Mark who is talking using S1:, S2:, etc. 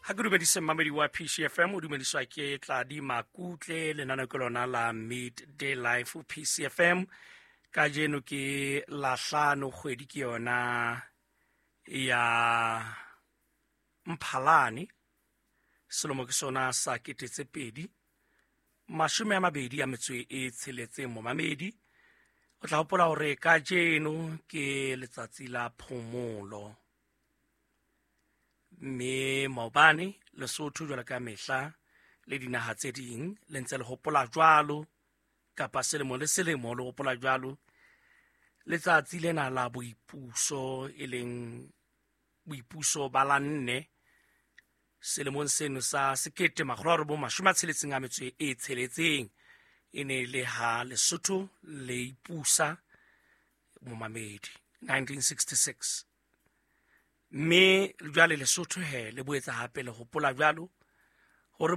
S1: Ha ke dumedise mmamedi wa PCFM, o dumediswa ke Tladi Makutle. Lenaneo ke lona la Midday Life, PCFM. Kajeno ke Lahlano, kgwedi ke yona ya Mphalane, selemo ke sona sa 2026. Momamedi, o tla hopola hore kajeno ke letsatsi la phomolo, mme maobane Lesotho, jwalo ka mehla le dinaha tse ding, le ntse le hopola jwalo, kapa selemo le selemo le hopola jwalo letsatsi lena la boipuso, e leng boipuso ba la 4 selemong seno sa 1966. E ne le ha Lesotho le ipusa, momamedi, 1966. Mme jwale Lesotho he le boetsa hape le hopola jwalo.